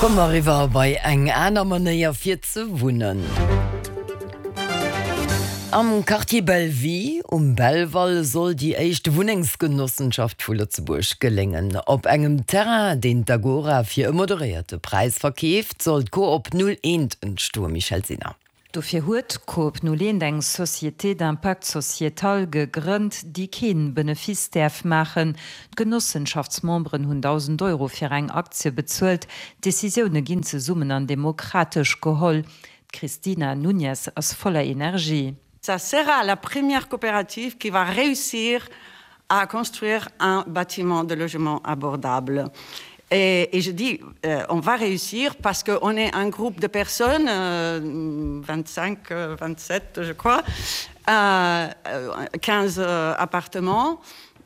Komme mer eriwwer bei eng aner Manéier fir ze wunnen. Am Quartier Bellevue um Belval soll déi éischt Wunnengsgenossenschaft vu Lëtzebuerg geléngen. Op engem Terrain, deen d'Agora fir e moderéierte Präis verkeeft, soll d'Coop 01 entstoen, Michèle Sinner. Dofir huet d'Coop 01 eng Société d'impact sociétal gegrënnt, déi keen Benefice däerf maachen. D'Genossenschaftsmemberen hunn 1.000 Euro fir eng Aktie bezuelt. D'Decisioune ginn zesummen an demokratesch geholl. D'Cristina Nuñez ass voller Energie. Ça sera la première coopérative qui va réussir à construire un bâtiment de logement abordable. Et, et je dis euh, on va réussir parce qu'on est un groupe de personnes euh, 25 27 euh, je crois euh, 15 euh, appartements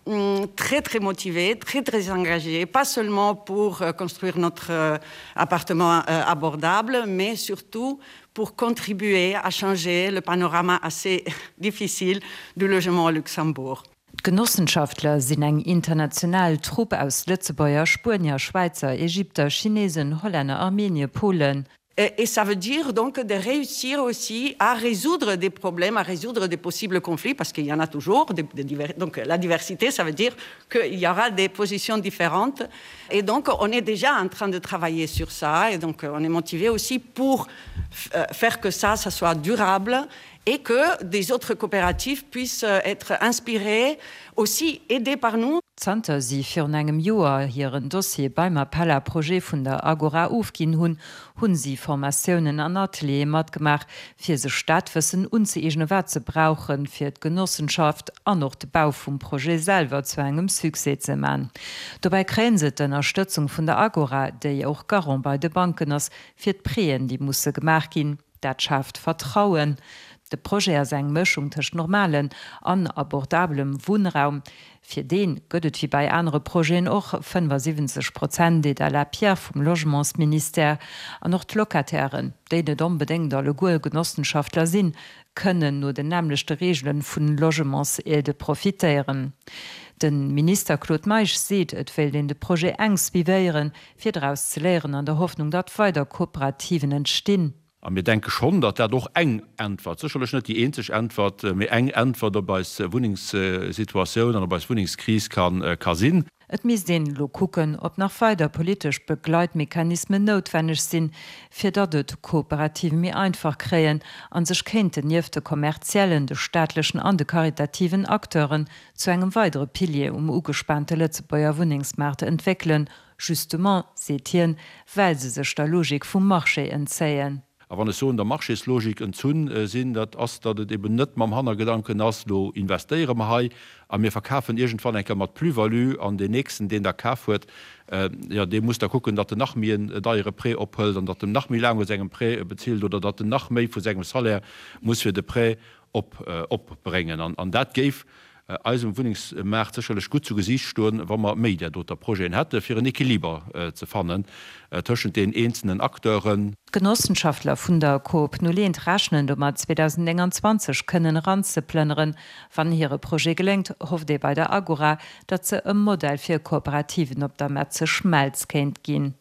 mm, très très motivés, très très engagés, pas seulement pour euh, construire notre euh, appartement euh, abordable, mais surtout pour contribuer à changer le panorama assez difficile du logement au Luxembourg. D'Genossenschaftler sinn eng international Trupp aus Lëtzebuerger, Spuenier, Schwäizer, Ägypter, Chinesen, Hollänner, Armenier, Polen. Et ça veut dire donc de réussir aussi à résoudre des problèmes, à résoudre des possibles conflits, parce qu'il y en a toujours. Des, des divers, donc la diversité, ça veut dire qu'il y aura des positions différentes. Et donc on est déjà en train de travailler sur ça, et donc on est motivé aussi pour euh, faire que ça, ça soit durable et que des autres coopératives puissent euh, être inspirées, aussi aidées par nous. Zanter si virun engem Joer hiren Dossier beim Appel à projets vun der Agora ofginn hunn, hunn si Formatiounen an Ateliere matgemaach, fir sech dat Wëssen unzëeegnen, wat se brauchen, fir d'Genossenschaft an och de Bau vum Projet selwer zu engem Succès ze man. Dobäi kréien se d'Ënnerstëtzung vun der Agora, déi och Garant bei de Banken ass, fir d'Prêten, déi musse gemaach ginn. Dat schaaft Vertrauen. De Projet ass eng Mëschung tëscht normalen an abordabelem Wunnraum. Fir dee gëtt et wéi bei anere Projeten och 75 Prozent Aide à la pierre vum Logementsministère. An och d'Locatairen, déi net onbedéngt alleguer Genossenschaftler sinn, kënnen no den nämmlechte Reegele vun Logementsaide profitéieren. De Minister Claude Meisch seet, et wéilt een de Projet enk suivéieren, fir draus ze léieren an der Hoffnung, datt weider Kooperativen entstinn. A mir denke schonn, datt dat och eng Äntwert, sécherlech net déi eenzeg Äntwert, mee eng Äntwert op eis Wunnengssituatioun an op eis Wunnengskris ka sinn. Et misst een elo kucken, ob nach weider politesch Begleitmechanismen noutwenneg sinn, fir datt et Kooperative méi einfach kréien a sech kéinten nieft de kommerziellen, de staatlechen an de karitativen Acteuren zu engem weidere Pilier um ugespaante Lëtzebuerger Wunnengsmaart entwéckelen, justement, seet hien, well se sech der Logik vum Marché entzéien. A wann ech soen, der Marchéslogik entzunn sinn, dat ass, datt et eben net mam Hannergedanken ass, elo investéiere mer hei a mir verkafen iergendwann eng Kéier mat Plus-value an deen Nächsten, deen da kaf huet, jo, dee muss da kucken, datt en nach méi en deiere Prêt ophëlt an datt en nach méi laang u sengem Prêt bezilt oder datt en nach méi vu sengem Salaire muss fir de Prêt opbréngen. An dat géif eisem Wunnengsmaart sécherlech gutt zu Gesiicht stoen, wa mer méi där doter Projeten hätten, fir en Equiliber ze fannen tëschent den eenzelnen Acteuren. D'Genossenschaftler vun der Coop Nuleent rechnen domat, 2029 kënnen eranzeplënneren. Wann hire Projet geléngt, hofft ee bei der Agora, datt se e Modell fir Kooperativen op der Metze Schmelz kéint ginn.